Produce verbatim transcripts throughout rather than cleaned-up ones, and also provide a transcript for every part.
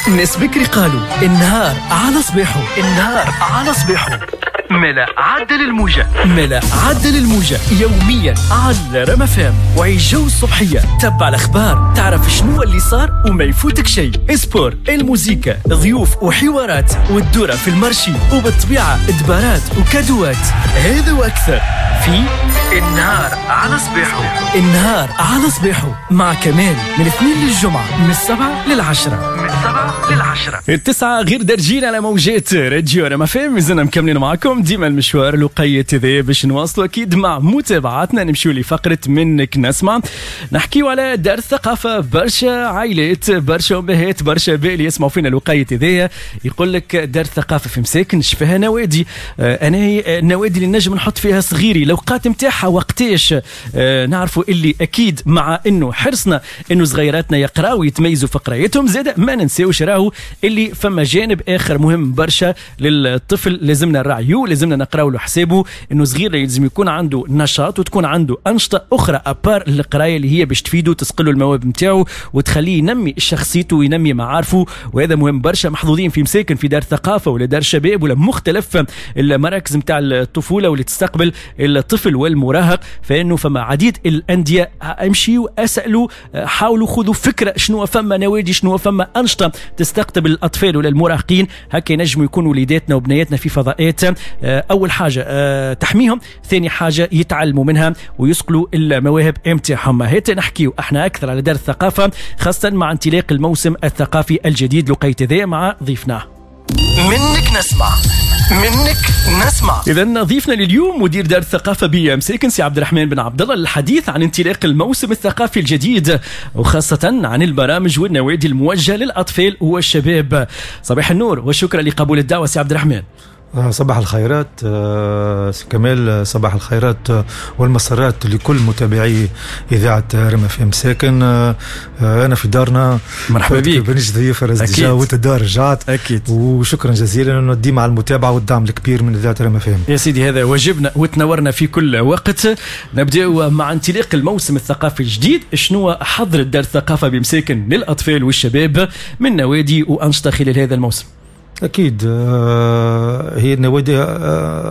الناس بكري قالوا النهار على صباحه، النهار على صباحه. ملا عدل الموجة، ملا عدل الموجة يوميا على رام اف ام وعيش جو الصبحية. تبع الأخبار، تعرف شنو اللي صار وما يفوتك شيء. sport، الموزيكا، ضيوف وحوارات، والدورة في ال marché، وبالطبيعة دبارات وكادوات. هذا وأكثر في النهار على صباحه. النهار على صباحه مع كمال من الاثنين للجمعة من السبعة للعشرة، من السبعة للعشرة. التسعة غير درجين على موجات راديو رام اف ام. مازلنا مكملين معكم ديما المشوار الوقيت هذا باش نواصلوا اكيد مع متابعاتنا. نمشيو لفقره منك نسمع، نحكيو على دار الثقافة. برشا عائلات، برشا امهات، برشا بال يسمعوا فينا الوقيت هذايا، يقول لك دار الثقافة في مساكن فيها نوادي، انا هي النوادي اللي نجم نحط فيها صغيري، الاوقات نتاعها وقتاش. آه نعرفوا اللي اكيد مع انه حرصنا انه صغيراتنا يقراوا ويتميزوا في قرايتهم، زاد ما ننساوش راهو اللي فما جانب اخر مهم برشا للطفل لازمنا نراعيوه، لازمنا نقراو له حسابه، انه صغير لازم يكون عنده نشاط وتكون عنده انشطة اخرى à part القراية اللي هي باش تفيده، تسقله المواهب نتاعو وتخليه ينمي شخصيته وينمي معارفه، وهذا مهم برشا. محظوظين في مساكن في دار ثقافة ولا دار شباب ولا مختلف المراكز نتاع الطفولة واللي تستقبل الطفل والمراهق، فانه فما عديد الاندية. امشيوا اسالوا، حاولوا خذوا فكرة شنو فما نوادي، شنو فما انشطة تستقطب الاطفال ولا المراهقين، هكا ينجموا يكونوا وليداتنا وبنياتنا في فضاءات اول حاجة تحميهم، ثاني حاجة يتعلموا منها ويصقلوا المواهب نتاعهم. هات نحكيو احنا اكثر على دار الثقافة خاصة مع انطلاق الموسم الثقافي الجديد لقيت ذا مع ضيفنا منك نسمع، منك نسمع. إذا ضيفنا لليوم مدير دار الثقافة بمساكن سي عبد الرحمن بن عبد الله للحديث عن انطلاق الموسم الثقافي الجديد وخاصة عن البرامج والنوادي الموجهة للأطفال والشباب. صباح النور وشكرا لقبول الدعوة سي عبد الرحمن. صباح الخيرات كمال، صباح الخيرات والمسرات لكل متابعي إذاعة رام اف ام مساكن. أنا في دارنا، مرحبا بك، بنيش ضيف déjà وانت الدار رجعت أكيد، وشكرا جزيلا أنه ديما على المتابعة والدعم الكبير من إذاعة رام اف ام. يا سيدي هذا واجبنا وتنورنا في كل وقت. نبدأ مع انطلاق الموسم الثقافي الجديد، شنو حضرت دار الثقافة بمساكن للأطفال والشباب من نوادي وأنشطة خلال هذا الموسم؟ اكيد هي النوادي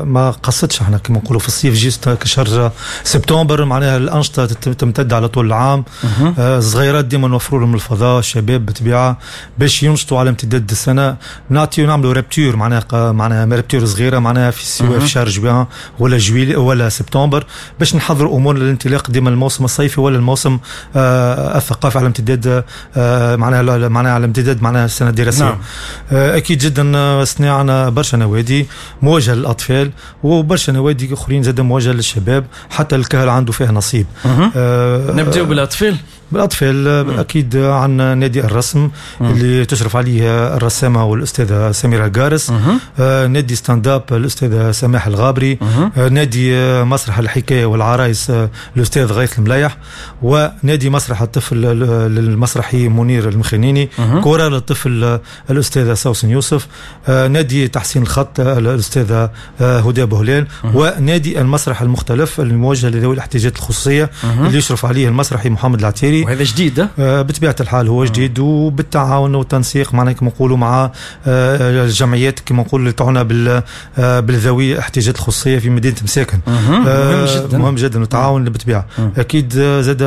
ما قصتش، احنا كما نقولوا في الصيف juste كشهر سبتمبر، معناها الانشطة تمتد على طول العام. الصغيرات ديما نوفروا لهم الفضاء، الشباب بالطبيعة باش ينشطوا على امتداد السنة. نعطيو نعملوا rupture، معناها معناها rupture صغيرة، معناها في سواء في شهر جوان ولا juillet ولا سبتمبر، باش نحضروا امور للانطلاق ديما الموسم الصيفي ولا الموسم الثقافي على امتداد معناها معناها على امتداد معناها السنة الدراسية. نعم. اكيد جدا صنعنا برشا نوادي موجهة للاطفال وبرشا نوادي اخرين زاد موجهة للشباب، حتى الكهل عنده فيها نصيب. آه نبداو بالاطفال. بالاطفال اكيد عندنا نادي الرسم مم. اللي تشرف عليه الرسامه والاستاذه سميرة القارس، آه نادي stand-up الاستاذة سماح الغابري، آه نادي مسرح الحكاية والعرايس آه الاستاذ غيث المليح، ونادي مسرح الطفل للمسرحي منير المخنيني، كورة للطفل الاستاذة سوسن يوسف، آه نادي تحسين الخط الاستاذة آه هدى بهلال، ونادي المسرح المختلف الموجه لذوي الاحتياجات الخصوصية مم. اللي يشرف عليه المسرحي محمد العتيري. وهذا جديد آه بطبيعة الحال هو جديد، وبالتعاون والتنسيق معناها كما نقولوا مع آه الجمعيات كما نقولوا اللي تعنى بال آه بالذوي الاحتياجات الخصوصية في مدينة مساكن. مهم. آه مهم جدا، مهم جدا والتعاون بالطبيعة. اكيد زاد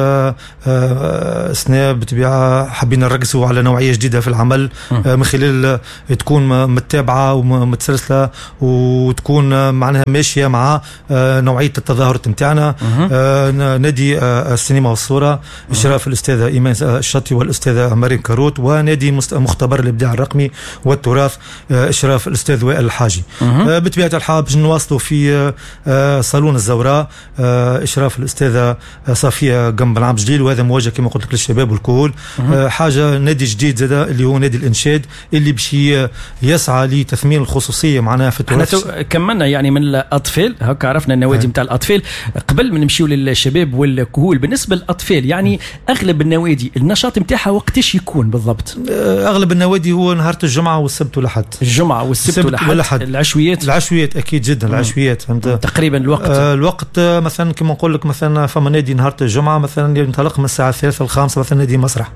آه سنة بالطبيعة حبينا نركزوا على نوعية جديدة في العمل آه من خلال تكون متابعه ومتسلسله وتكون معناها ماشية مع آه نوعية التظاهرات نتاعنا. آه نادي آه السينما والصورة اشراف الاستاذة ايمان الشطي والاستاذه مريم كاروت، ونادي مختبر الابداع الرقمي والتراث اشراف الاستاذ وائل الحاجي. بطبيعة الحال باش نواصلوا في صالون الزوراء اشراف الاستاذة صفيه قنب العام جديد، وهذا موجه كما قلت لك للشباب والكهول. حاجة نادي جديد زاد اللي هو نادي الانشاد اللي باش يسعى لتثمين الخصوصية معناها في التراث. كملنا يعني من الاطفال، هكا عرفنا النوادي نتاع الاطفال. قبل ما نمشيو للشباب والكهول، بالنسبة للاطفال يعني اغلب النوادي النشاط نتاعها وقتاش يكون بالضبط؟ اغلب النوادي هو نهار الجمعة والسبت والاحد. الجمعة والسبت والاحد. العشويات؟ العشويات اكيد جدا العشويات، فهمت؟ تقريبا الوقت آه الوقت مثلا كما نقول لك مثلا فما نادي نهار الجمعة مثلا ينطلق من الساعة الثالثة الخامسة مثلا نادي مسرح.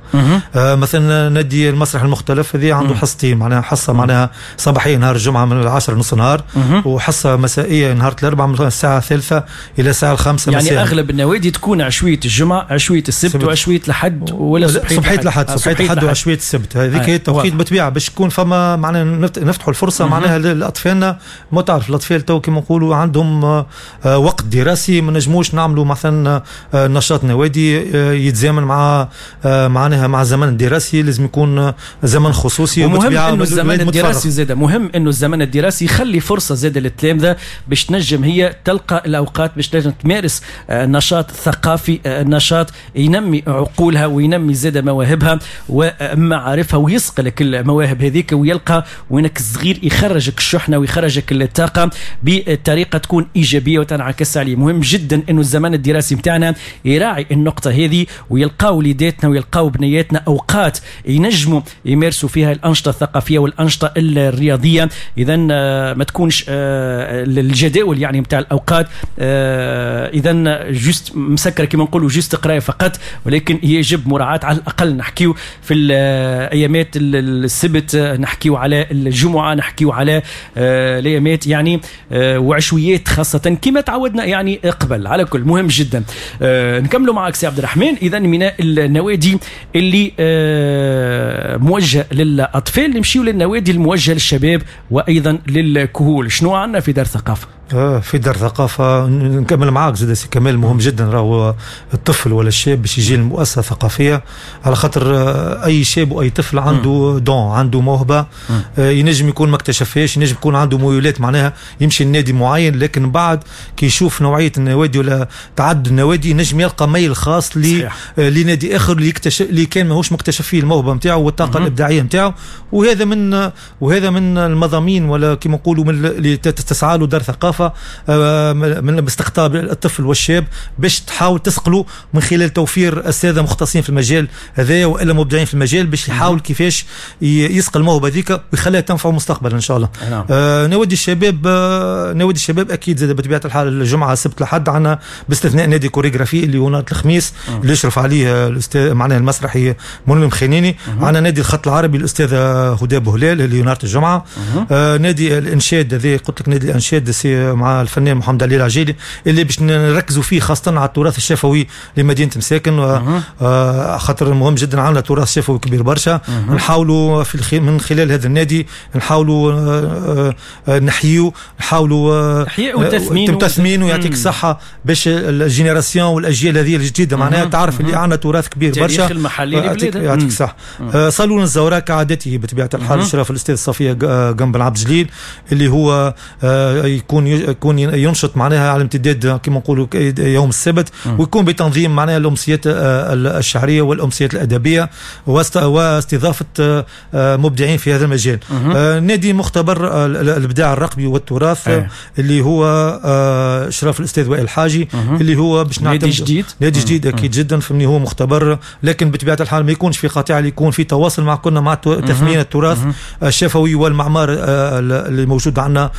آه مثلا نادي المسرح المختلف هذه عنده حصتين، معناها حصة معناها صباحية نهار الجمعة من العاشرة نص نهار، وحصه مسائية نهار الاربعاء من الساعة الثالثة الى الساعة الخامسة يعني مساء. يعني اغلب النوادي تكون عشويه الجمعة، عشويه السبت، وعشويه الحد، ولا صبحيه الحد، صبحيه الحد وعشويه السبت. هذيك هي التوقيت بالطبيعة باش يكون فما معناها نفتحوا الفرصة معناها لاطفالنا. ما تعرف الاطفال تو كما نقولوا عندهم وقت دراسي، ما نجموش نعملوا مثلا نشاط نوادي يتزامن مع معناها مع الزمن الدراسي، لازم يكون زمن خصوصي. ومهم انه الزمن الدراسي زاد، مهم انه الزمن الدراسي يخلي فرصة زاد للتلامذه باش تنجم هي تلقى الاوقات باش تنجم تمارس نشاط ثقافي، نشاط ينمي عقولها وينمي زاد مواهبها ومعارفها ويصقلك المواهب هذيك، ويلقى وينك الصغير يخرجك الشحنة ويخرجك الطاقة بطريقة تكون ايجابية وتنعكس عليه. مهم جدا انه الزمن الدراسي نتاعنا يراعي النقطة هذه، ويلقاو وليداتنا ويلقاو بنياتنا اوقات ينجموا يمارسوا فيها الانشطة الثقافية والانشطه الرياضية. اذا ما تكونش الجداول يعني نتاع الاوقات اذا juste مسكره كما نقولوا juste قرايه فقط، ولكن يجب مراعاة على الاقل نحكيو في الايامات السبت، نحكيو على الجمعة، نحكيو على الايامات يعني وعشويات خاصة كما تعودنا يعني قبل. على كل مهم جدا نكملوا معك سي عبد الرحمن. اذا من النوادي اللي موجهة للاطفال نمشيو للنوادي الموجهة للشباب وايضا للكهول. شنو عندنا في دار الثقافة؟ في دار الثقافة نكمل معاك زاد سي كمال، مهم جدا راهو الطفل ولا الشاب باش يجي للمؤسسه الثقافية، على خاطر اي شاب واي طفل عنده don، عنده موهبة ينجم يكون ما اكتشفهاش، ينجم يكون عنده ميولات معناها يمشي لنادي معين، لكن بعد كي يشوف نوعية النوادي ولا تعدد النوادي ينجم يلقى ميل خاص لنادي اخر اللي يكتشف اللي كان ماهوش مكتشف فيه الموهبة نتاعو والطاقة الابداعية نتاعو. وهذا من وهذا من المضامين ولا كما نقولوا من اللي تسعى له دار ثقافة من باستقطاب الطفل والشاب باش تحاول تسقله من خلال توفير اساتذة مختصين في المجال هذايا والا مبدعين في المجال باش يحاول كيفاش يسقل الموهبة هذيك ويخليها تنفعه مستقبلا ان شاء الله. نعم. آه نوادي الشباب، آه نوادي الشباب اكيد زاد بطبيعة الحال الجمعة السبت الأحد عندنا باستثناء نادي كوريغرافي اللي هو نهار الخميس اللي يشرف عليه الاستاذ معناها المسرحي منعم خنيني. عندنا نادي الخط العربي الاستاذة هدى بوهلال اللي نهار الجمعة. آه نادي الانشاد هذا قلت لك نادي الانشاد سي مع الفنان محمد علي العجيلي اللي باش نركزوا فيه خاصة على التراث الشفوي لمدينة مساكن، آه خاطر مهم جدا عندنا تراث شفوي كبير برشا. نحاولوا في الخ... من خلال هذا النادي نحاولوا آه آه نحيو نحاولوا احياء وتثمين وتثمين ويعطيك الصحة باش ال génération والاجيال هذه الجديدة معناها تعرف اللي عندنا تراث كبير برشا، التاريخ المحلي لبلادنا. يعطيك الصحة. آه صالون الزوراء كعادته بطبيعة الحال اشراف الاستاذ صفيه جنب العبد جليل اللي هو آه يكون يكون ينشط معناها على امتداد كما نقولوا يوم السبت، ويكون بتنظيم معناها الامسيات الشعرية والامسيات الادبية واستضافه مبدعين في هذا المجال. نادي مختبر الابداع الرقمي والتراث أيه. اللي هو اشراف الاستاذ وائل الحاجي اللي هو باش نادي جديد، نادي جديد اكيد جدا، فهمني هو مختبر لكن بطبيعة الحال ما يكونش في قطيعة، اللي يكون في تواصل مع كنا مع تثمين التراث الشفوي والمعمار اللي موجود عندنا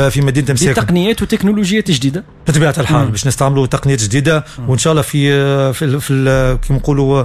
في مدينة مساكن. تقنيات وتكنولوجيات جديدة بطبيعة الحال باش نستعملوا تقنيات جديدة، وان شاء الله في في في كيما نقولوا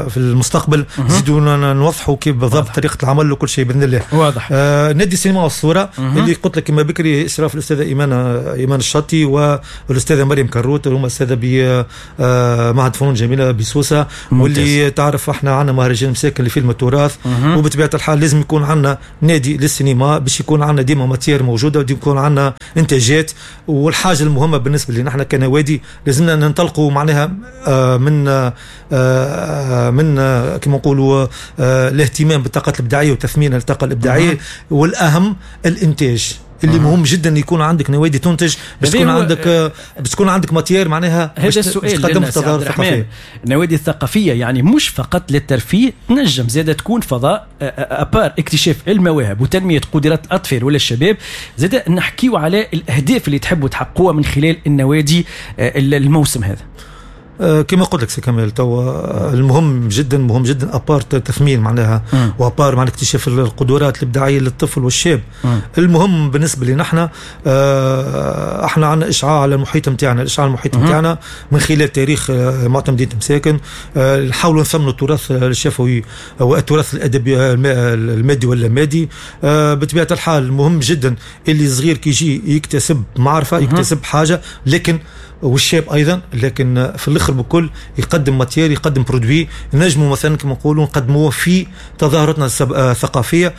في المستقبل نزيدوا نوضحوا كيف بالضبط طريقه العمل وكل شيء باذن الله. واضح. آه نادي السينما والصورة اللي قلت لك كما بكري اشراف الاستاذة ايمان ايمان الشطي والاستاذه مريم كروت اللي هما استاذه بمعهد فنون جميلة بسوسه، واللي تعرف احنا عندنا مهرجان مساكن لفيلم التراث، وبطبيعة الحال لازم يكون عندنا نادي للسينما باش يكون عندنا ديما matière موجودة وديما يكون عندنا انتاجات. والحاجة المهمة بالنسبة لنا احنا كنوادي لازمنا ننطلقوا معناها من من كما نقولوا الاهتمام بالطاقات الابداعية وتثمين الطاقة الابداعية، والاهم الانتاج اللي مهم جدا يكون عندك نوادي تنتج باش تكون عندك باش تكون عندك matière معناها. هذا السؤال تقدم التظاهر الثقافية. النوادي الثقافية يعني مش فقط للترفيه، تنجم زاده تكون فضاء à part اكتشاف المواهب وتنميه قدرات الاطفال ولا الشباب. زاده نحكيو على الاهداف اللي تحبوا تحققوها من خلال النوادي الموسم هذا. كما قلت لك سي كمال، توا المهم جدا مهم جدا à part تثمين معناها و à part مع اكتشاف القدرات الابداعية للطفل والشاب. مم. المهم بالنسبة لنا احنا احنا عندنا اشعاع على المحيط نتاعنا، الاشعاع على المحيط نتاعنا من خلال تاريخ معتمدية مساكن، نحاولوا نثمنوا التراث الشفوي والتراث الادبي المادي واللامادي. بطبيعة الحال مهم جدا اللي صغير كي يجي يكتسب معرفة، يكتسب حاجة، لكن والشاب ايضا، لكن في الاخر بكل يقدم matière، يقدم produit نجموا مثلا كما نقولوا نقدموه في تظاهراتنا الثقافية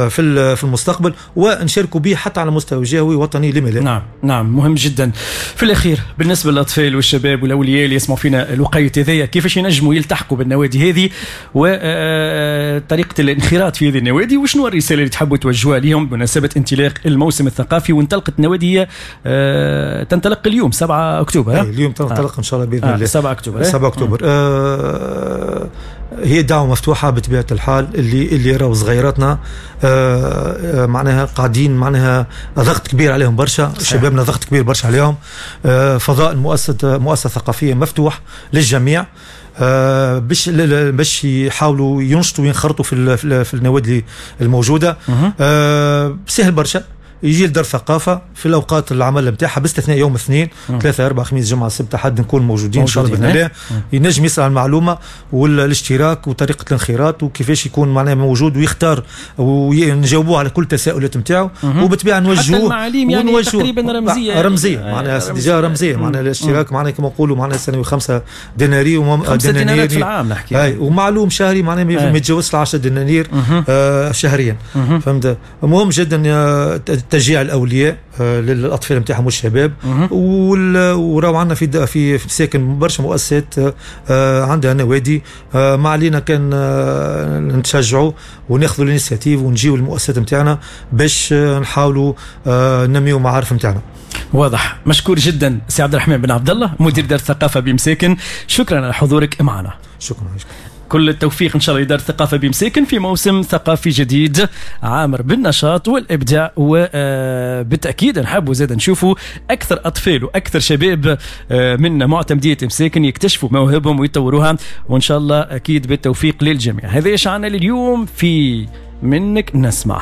في في المستقبل، ونشاركوا به حتى على مستوى جهوي وطني لما لا. نعم نعم، مهم جدا. في الاخير بالنسبة للاطفال والشباب والاولياء اللي يسمعوا فينا الوقيت هذايا، كيفاش ينجموا يلتحقوا بالنوادي هذه وطريقه الانخراط في هذه النوادي، وشنو الرسالة اللي تحبوا توجهوها لهم بمناسبة انطلاق الموسم الثقافي؟ وانطلقت النوادي هي تنطلق اليوم سبعة اكتوبر. اليوم تنطلق آه. ان شاء الله باذن آه. الله سبعة اكتوبر. سبعة اكتوبر. آه هي دعوه مفتوحة بطبيعة الحال، اللي اللي راهو صغيراتنا آه معناها قاعدين معناها ضغط كبير عليهم برشا، شبابنا ضغط كبير برشا عليهم. آه فضاء المؤسسة مؤسسة ثقافية مفتوح للجميع، آه باش باش يحاولوا ينشطوا وينخرطوا في في النوادي الموجودة. آه سهل برشا، يجي لدار ثقافة في الاوقات العمل نتاعها باستثناء يوم اثنين ثلاثة اربعة خميس جمعه السبت احد نكون موجودين ان شاء الله باذن الله. ينجم يسال عن المعلومة والاشتراك وطريقه الانخراط وكيفاش يكون معناها موجود ويختار ونجاوبوه على كل التساؤلات نتاعو، وبالطبيعه نوجهوه حتى المعاليم يعني تقريبا رمزية رمزية معناها déjà رمزية معناها الاشتراك معناها كما نقولوا معناها سنوي خمسة دنانير وم... خمسة دينارات في العام نحكي، اي ومعلوم شهري معناها ما يتجاوزش عشرة دنانير آه شهريا. فهمت؟ مهم جدا تشجيع الاولياء للاطفال نتاعهم والشباب. وراو عندنا في في مساكن برشا مؤسسات عندها نوادي، ما علينا كان نتشجعوا وناخذوا ال initiative ونجيو المؤسسات نتاعنا باش نحاولوا ننميو معارف نتاعنا. واضح. مشكور جدا سي عبد الرحمن بن عبد الله مدير دار الثقافة بمساكن، شكرا على حضورك معنا. شكرا. كل التوفيق إن شاء الله لدار الثقافة بمساكن في موسم ثقافي جديد عامر بالنشاط والإبداع، وبالتأكيد نحبوا زاد نشوفوا أكثر أطفال وأكثر شباب من معتمدية مساكن يكتشفوا مواهبهم ويطوروها، وإن شاء الله أكيد بالتوفيق للجميع. هذا إيش عنا لليوم في منك نسمع.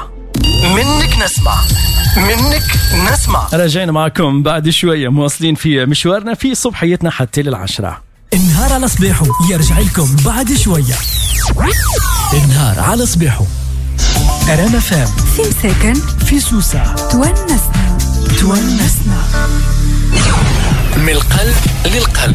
منك نسمع، منك نسمع. رجعنا معكم بعد شوية، مواصلين في مشوارنا في صبحيتنا حتى للعشرة. النهار على صباحه يرجع لكم بعد شوية. النهار على صباحه أرانا فام في مساكن في سوسة تونسنا تونسنا من القلب للقلب.